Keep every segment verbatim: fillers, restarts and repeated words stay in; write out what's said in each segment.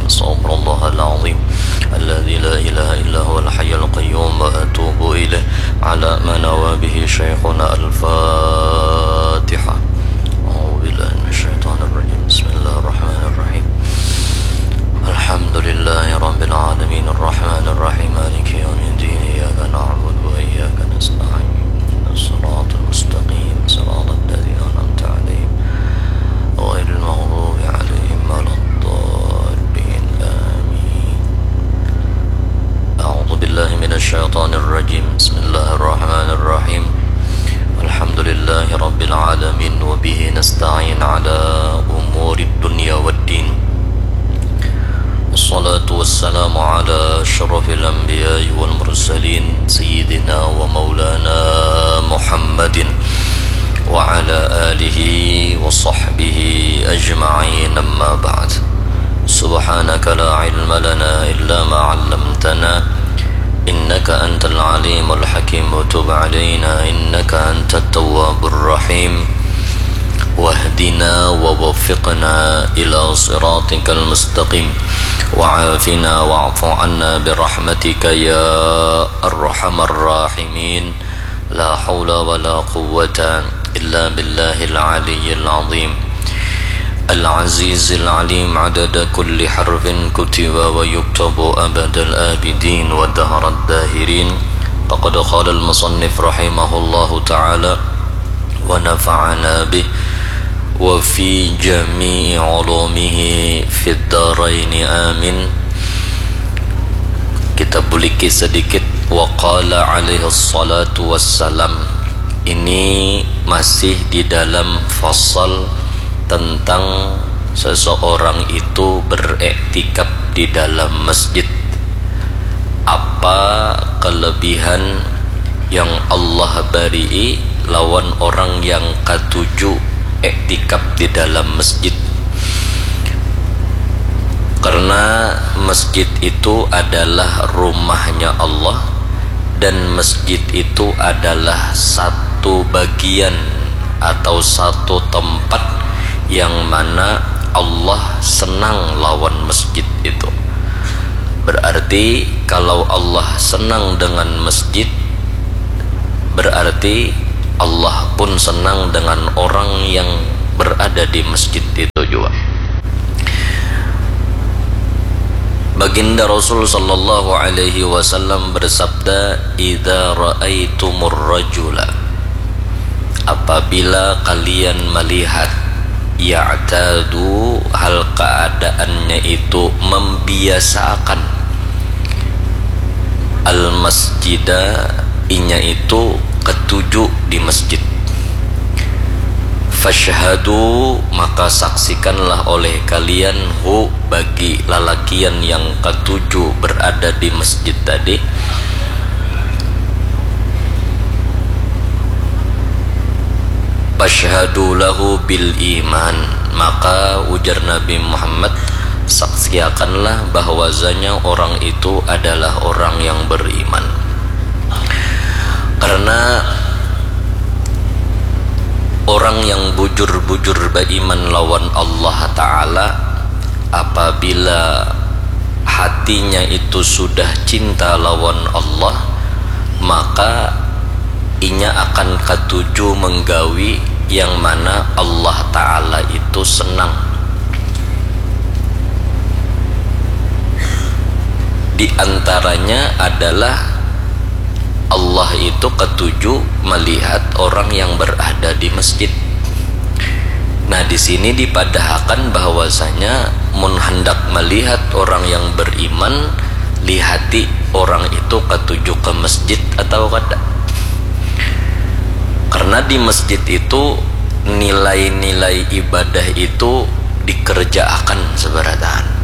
أستغفر الله العظيم الذي لا إله إلا هو الحي القيوم وأتوب إليه على ما نوى به شيخنا. الفاتحة. أعوذ بالله من الشيطان الرجيم. بسم الله الرحمن الرحيم. الحمد لله رب العالمين الرحمن الرحيم مالك يوم الدين إياك نعبد وإياك نستعين اهدنا الصراط المستقيم صراط الذين أنعمت عليهم غير المغضوب عليهم ولا الضالين آمين. أعوذ بالله من الشيطان الرجيم. بسم الله الرحمن الرحيم. الحمد لله رب العالمين وبه نستعين على أمور الدنيا والدين. والصلاة والسلام على أشرف الأنبياء والمرسلين سيدنا ومولانا محمد وعلى آله وصحبه أجمعين. أما بعد. سبحانك لا علم لنا إلا ما علمتنا إنك أنت العليم الحكيم وتب علينا إنك أنت التواب الرحيم. واهدنا ووفقنا إلى صراطك المستقيم وعافنا واعف عنا برحمتك يا أرحم الراحمين. لا حول ولا قوة إلا بالله العلي العظيم العزيز العليم عدد كل حرف كتب ويكتب أبد الآبدين ودهر الداهرين. فقد قال المصنف رحمه الله تعالى ونفعنا به وفي جميع علومه في الدارين آمين. Kita buliki sedikit. Wa qala alaihi salatu wassalam. Ini masih di dalam fasal tentang seseorang itu beriktikaf di dalam masjid. Apa kelebihan yang Allah bari'i lawan orang yang katuju iktikaf di dalam masjid? Karena masjid itu adalah rumahnya Allah, dan masjid itu adalah satu bagian atau satu tempat yang mana Allah senang lawan masjid itu. Berarti kalau Allah senang dengan masjid, berarti Allah pun senang dengan orang yang berada di masjid itu juga. Baginda Rasul sallallahu alaihi wasallam bersabda, "Idza ra'aitumur rajula," apabila kalian melihat, "ya'tadu," hal keadaannya itu membiasakan, "al masjida," inya itu ketuju di masjid, "fasyhadu," maka saksikanlah oleh kalian, "hu," bagi lalakian yang katuju berada di masjid tadi. "Fasyhadu lahu bil iman," maka ujar Nabi Muhammad, "saksiakanlah bahwasanya orang itu adalah orang yang beriman." Karena orang yang bujur-bujur beriman lawan Allah Ta'ala, apabila hatinya itu sudah cinta lawan Allah, maka inya akan katuju menggawi yang mana Allah Ta'ala itu senang. Di antaranya adalah Allah itu katuju melihat orang yang berada di masjid. Nah, di sini dipadahakan bahwasanya mun handak melihat orang yang beriman, lihati orang itu katuju ke masjid atau kada. Karena di masjid itu nilai-nilai ibadah itu dikerjaakan sebarataan.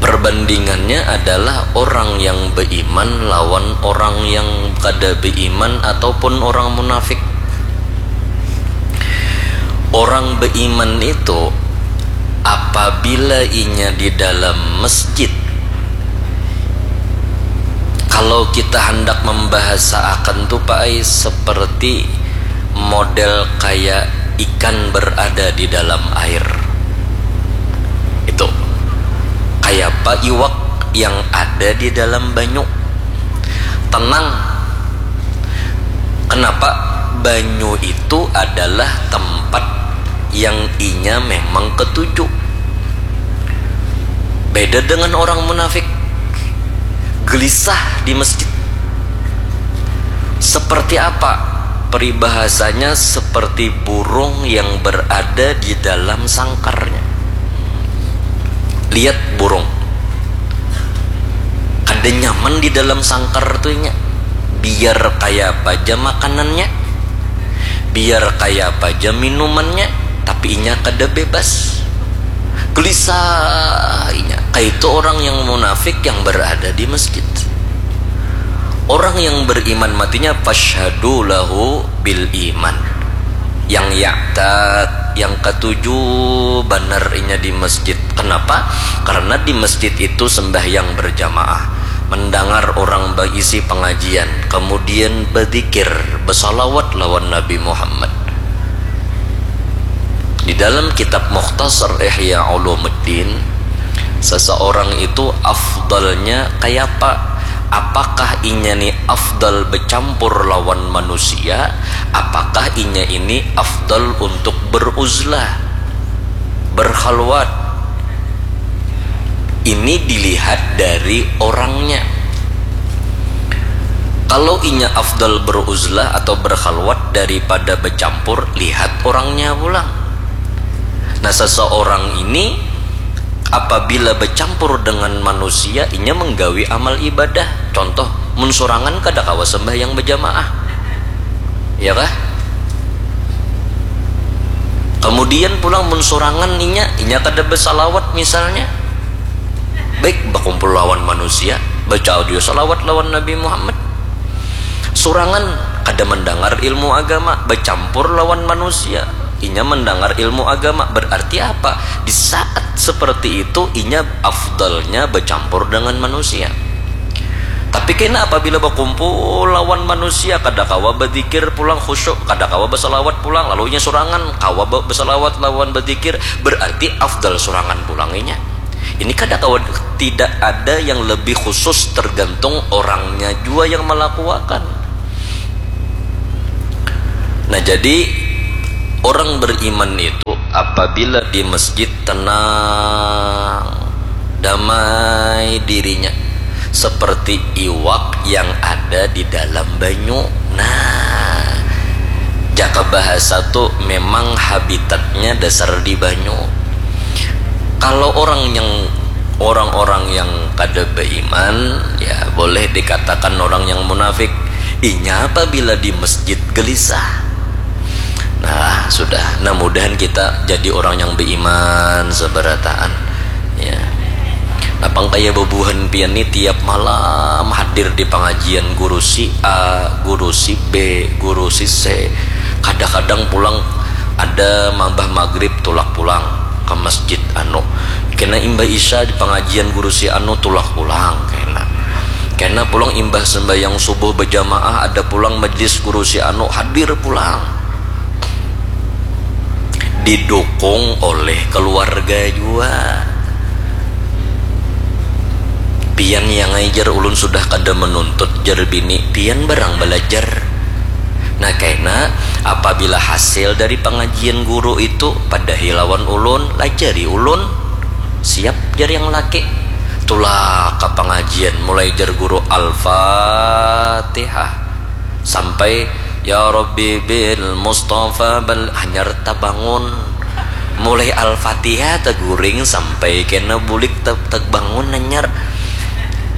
Perbandingannya adalah orang yang beriman lawan orang yang kada beriman ataupun orang munafik. Orang beriman itu apabila inya di dalam masjid, kalau kita hendak membahasaakan tu, Pak ai, seperti model kayak ikan berada di dalam air. Itu Kayapa iwak yang ada di dalam banyu? Tenang. Kenapa? Banyu itu adalah tempat yang inya memang ketuju. Beda dengan orang munafik, gelisah di masjid. Seperti apa? Peribahasanya seperti burung yang berada di dalam sangkarnya. Lihat burung. Kada nyaman di dalam sangkar tuh inya. Biar kaya apa aja makanannya, biar kaya apa aja minumannya, tapi inya kada bebas. Gelisah inya. Kaitu orang yang munafik yang berada di masjid. Orang yang beriman matinya, fashhadu lahu bil iman. Yang ya'tad, yang katuju banar inya di masjid. Kenapa? Karena di masjid itu sembahyang berjamaah, mendengar orang berisi pengajian, kemudian berzikir, bersalawat lawan Nabi Muhammad. Di dalam kitab Mukhtasar Ihya Ulumuddin, seseorang itu afdalnya kayapa? Apakah inya ni afdal bercampur lawan manusia? Apakah inya ini afdal untuk beruzlah, berkhalwat? Ini dilihat dari orangnya. Kalau inya afdal beruzlah atau berkhalwat daripada bercampur, lihat orangnya pulang. Nah, seseorang ini apabila bercampur dengan manusia, inya menggawi amal ibadah. Contoh, mun sorangan kada kawa sembahyang berjamaah. Ya kah? Kemudian pulang mun sorangan inya, inya kada bersalawat misalnya. Baik, bakumpul lawan manusia, baca audio salawat lawan Nabi Muhammad. Sorangan kada mendengar ilmu agama, bercampur lawan manusia, inya mendengar ilmu agama. Berarti apa? Di saat seperti itu, inya afdalnya bercampur dengan manusia. Tapi kena apabila bakumpul lawan manusia, kada kawa bazikir pulang khusyuk, kada kawa basalawat pulang, lalu inya surangan kawa ba- basalawat lawan bazikir, berarti afdal surangan pulang inya. Ini kada kawa, tidak ada yang lebih khusus, tergantung orangnya jua yang malakuakan. Nah, jadi orang beriman itu apabila di masjid tenang, damai dirinya, seperti iwak yang ada di dalam banyu. Nah, jaka bahasa tu memang habitatnya dasar di banyu. Kalau orang yang, orang-orang yang kada beriman, ya, boleh dikatakan orang yang munafik. Inya apabila di masjid gelisah. Nah, sudah. Nah, mudahan kita jadi orang yang beriman seberataan. Ya. Napang kaya bebuhan pian ni tiap malam hadir di pengajian guru si A, guru si B, guru si C. Kadang-kadang pulang ada mambah maghrib tulak pulang ke masjid anu. Kena imbah isya di pengajian guru si anu tulak pulang kena. Kena pulang imbah sembahyang subuh berjamaah ada pulang majlis guru si anu hadir pulang. Didukung oleh keluarga jua. Pian yang ai jar ulun sudah kada menuntut jar bini, pian barang belajar. Nah kena apabila hasil dari pengajian guru itu padahi lawan ulun, lajari ulun. Siap jar yang laki. Tulak ke pengajian mulai jar guru Al-Fatihah sampai ya Rabbi bil Mustafa bal hanyar tabangun. Mulai Al-Fatihah taguring sampai kena bulik ta- tabangun hanyar.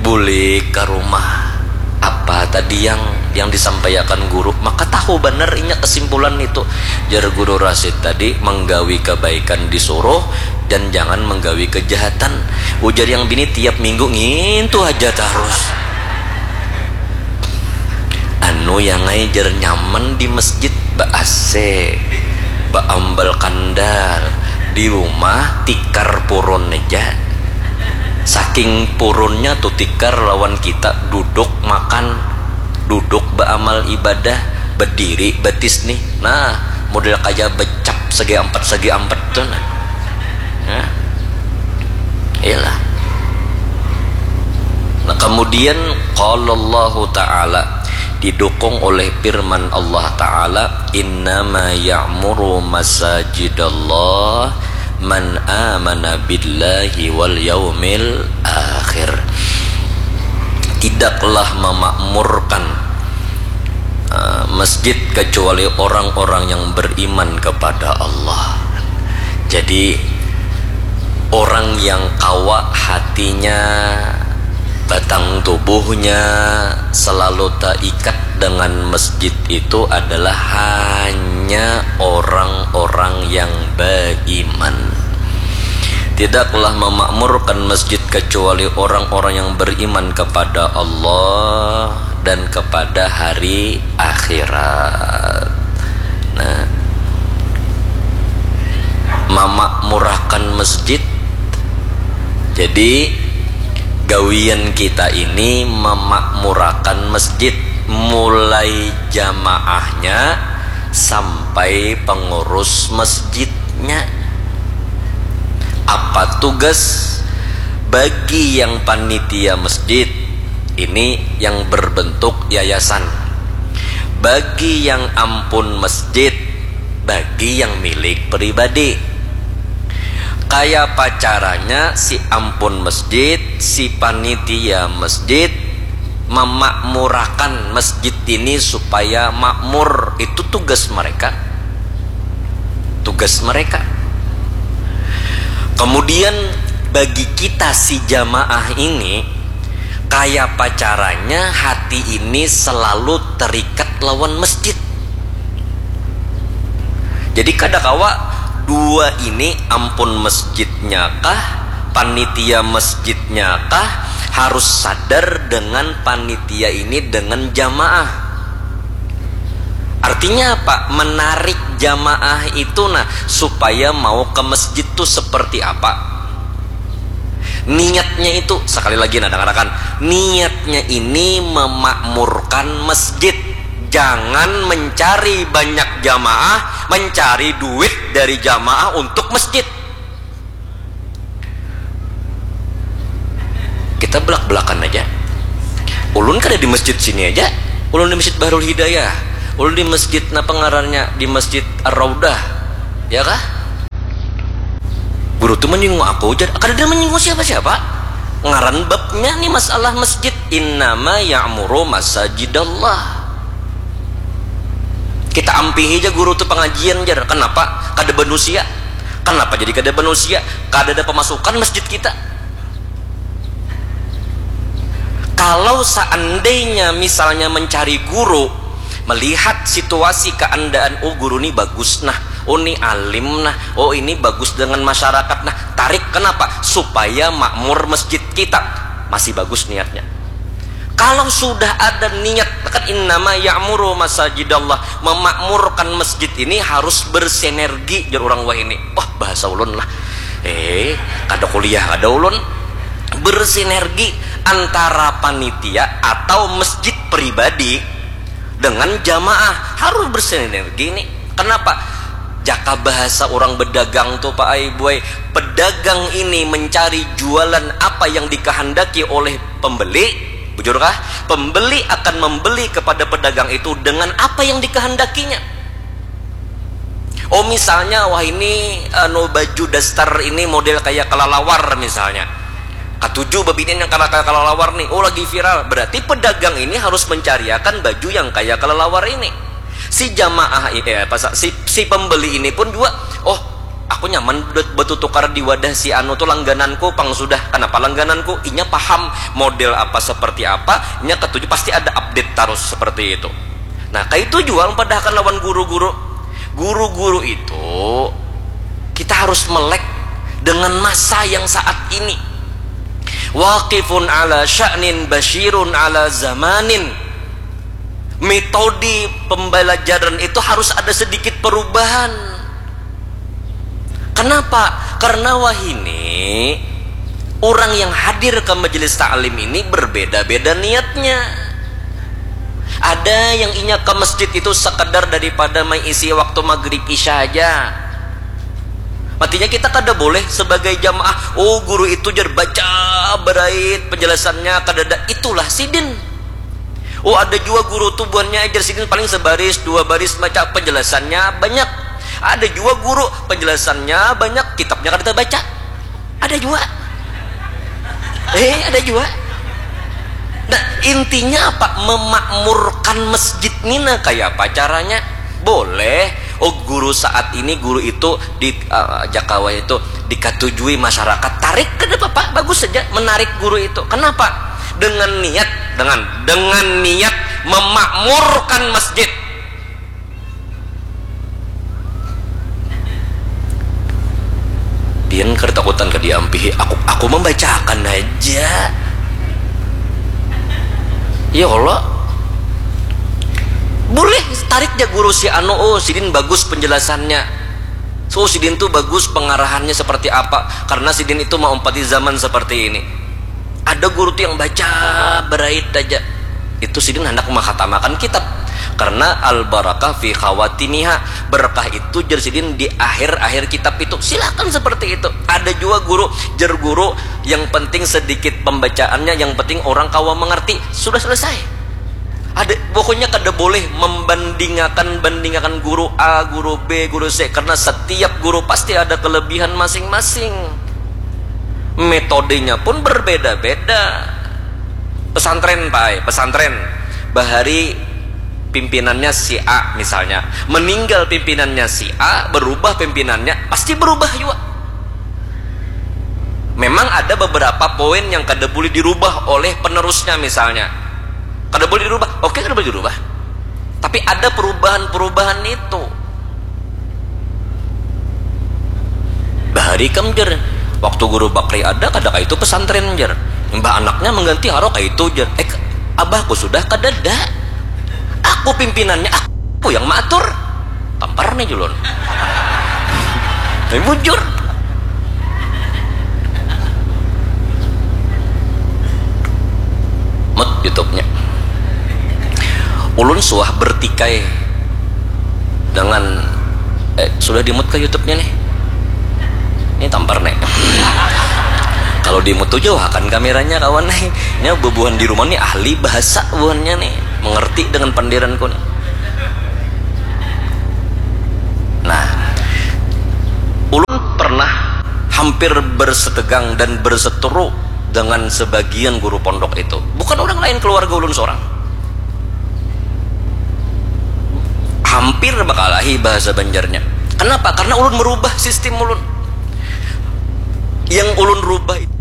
Bulik ke rumah, apa tadi yang yang disampaikan guru, maka tahu benar inya kesimpulan itu. Jar guru Rasid tadi, menggawi kebaikan disuruh dan jangan menggawi kejahatan. Ujar yang bini tiap minggu ngintu aja terus. Anu yang ai jar nyaman di masjid ba A C, ba ambal kandal, di rumah tikar purun aja. Saking purunnya tuh tikar lawan kita duduk makan, duduk beramal ibadah, berdiri batis nih. Nah, model kaya becap segi empat segi empat tuh nah. Nah. Iyalah. Kemudian, qala Allahu ta'ala, didukung oleh firman Allah ta'ala, innama ya'muru masajidallah man amana billahi wal yaumil akhir. Tidaklah memakmurkan uh, masjid kecuali orang-orang yang beriman kepada Allah. Jadi, orang yang kawa hatinya, batang tubuhnya selalu terikat dengan masjid itu adalah hanya orang-orang yang beriman. Tidaklah memakmurkan masjid kecuali orang-orang yang beriman kepada Allah dan kepada hari akhirat. Nah, memakmurkan masjid. Jadi, gawian kita ini memakmurkan masjid, mulai jamaahnya sampai pengurus masjidnya. Apa tugas? Bagi yang panitia masjid, ini yang berbentuk yayasan. Bagi yang ampun masjid, bagi yang milik pribadi. Kaya pacaranya si ampun masjid, si panitia masjid memakmurakan masjid ini supaya makmur. Itu tugas mereka. Tugas mereka. Kemudian, bagi kita si jamaah ini, kaya pacaranya hati ini selalu terikat lawan masjid. Jadi, kada kawa dua ini, ampun masjidnya kah, panitia masjidnya kah, harus sadar dengan panitia ini, dengan jamaah. Artinya apa? Menarik jamaah itu, nah, supaya mau ke masjid tuh seperti apa? Niatnya itu, sekali lagi, nah, dengarkan. Niatnya ini memakmurkan masjid. Jangan mencari banyak jamaah, mencari duit dari jamaah untuk masjid. Kita belak-belakan aja. Ulun kada di masjid sini aja. Ulun di Masjid Bahrul Hidayah. Ulun di masjid, napa ngarannya, di Masjid Ar-Raudah. Ya kah? Guru tuh menyinggung aku, jar. Kada ada menyinggung siapa-siapa. Ngaran babnya nih masalah masjid. Innama ya'muru masajidallah. Kita ampihi aja guru tuh pengajian, jar. Kenapa? Kada manusia. Kenapa jadi kada manusia? Kada ada pemasukan masjid kita. Kalau seandainya misalnya mencari guru, melihat situasi keadaan, oh, guru ni bagus nah, oh, ni alim nah, oh, ini bagus dengan masyarakat nah, tarik. Kenapa? Supaya makmur masjid kita. Masih bagus niatnya. Kalau sudah ada niat, kan innama ya'muru masajidallah, memakmurkan masjid ini harus bersinergi, jar orang wahini. Wah, bahasa ulun lah. Eh, kada kuliah kada ulun. Bersinergi antara panitia atau masjid pribadi dengan jamaah, harus bersinergi nih. Kenapa? Jaka bahasa orang bedagang tuh, Pak ai, buai, pedagang ini mencari jualan apa yang dikehendaki oleh pembeli. Bujurkah? Pembeli akan membeli kepada pedagang itu dengan apa yang dikehendakinya. Oh, misalnya, wah, ini, anu, baju daster ini model kayak kelelawar misalnya. Katuju babinian yang kala-, kayak kelelawar nih. Oh, lagi viral. Berarti pedagang ini harus mencariakan baju yang kayak kelelawar ini. Si jamaah ini, eh, apa, sa-, si, si pembeli ini pun juga, oh, aku nyaman bet-, betutukar di wadah si anu tuh, langgananku pang sudah. Kenapa langgananku? Inya paham model apa seperti apa, inya ketuju, pasti ada update terus seperti itu. Nah, kayak itu jual padahkan lawan guru-guru. Guru-guru itu kita harus melek dengan masa yang saat ini. Waqifun ala sya'nin basyirun ala zamanin. Metode pembelajaran itu harus ada sedikit perubahan. Kenapa? Karena wahini orang yang hadir ke majelis taklim ini berbeda-beda niatnya. Ada yang inya ke masjid itu sekedar daripada mengisi waktu maghrib isya aja. Matinya kita kada boleh sebagai jamaah, oh guru itu jar baca berait penjelasannya, kadada, itulah sidin. Oh ada jua guru tu buhannya jar sidin paling sebaris dua baris maca penjelasannya banyak. Ada jua guru penjelasannya banyak, kitabnya kada tabaca. Ada jua. Eh ada jua. Nah intinya apa? Memakmurkan masjid ni nah, kayak apa caranya? Boleh. Oh guru saat ini guru itu di uh, Jakawa itu dikatujui masyarakat, tarik ke depan pak, bagus saja menarik guru itu. Kenapa? Dengan niat, dengan dengan niat memakmurkan masjid. Pian kertakutan ke diampihi, aku aku membacakan aja. Ya Allah. Boleh tarik ja guru si anu, oh sidin bagus penjelasannya. So sidin tuh bagus pengarahannya seperti apa, karena sidin itu maumpati zaman seperti ini. Ada guru tuh yang baca berait aja, itu sidin hendak menghatamakan kitab, karena al barakah fi khawatimiha, berkah itu jer sidin di akhir-akhir kitab itu. Silahkan seperti itu. Ada juga guru jer guru yang penting sedikit pembacaannya, yang penting orang kawa mengerti, sudah selesai. Ada pokoknya kada boleh membandingakan bandingakan guru A, guru B, guru C, karena setiap guru pasti ada kelebihan masing-masing. Metodenya pun berbeda-beda. Pesantren pai, pesantren bahari pimpinannya si A misalnya, meninggal pimpinannya si A, berubah pimpinannya, pasti berubah juga. Memang ada beberapa poin yang kada boleh dirubah oleh penerusnya misalnya. Kada boleh dirubah, oke kada boleh dirubah. Tapi ada perubahan-perubahan itu. Bahari kam jer, waktu guru Bakri ada kada kaitu pesantren jer. Imbah anaknya mengganti haro kaitu jer. Eh abahku sudah kadada. Aku pimpinannya, aku yang maatur. Tampar nih julun. Tapi bujur. Mut YouTube-nya. Ulun suah bertikai dengan eh, sudah dimut ke YouTube-nya nih. Ini tampar nih. Kalau dimut tuh jauhakan kameranya kawan nih. Ini bubuhan di rumah nih ahli bahasa buhannya nih. Mengerti dengan pandiranku nih. Nah, ulun pernah hampir bersetegang dan berseteru dengan sebagian guru pondok itu. Bukan orang lain, keluarga ulun seorang. Hampir bakalahi bahasa Banjarnya. Kenapa? Karena ulun merubah sistem ulun. Yang ulun rubah itu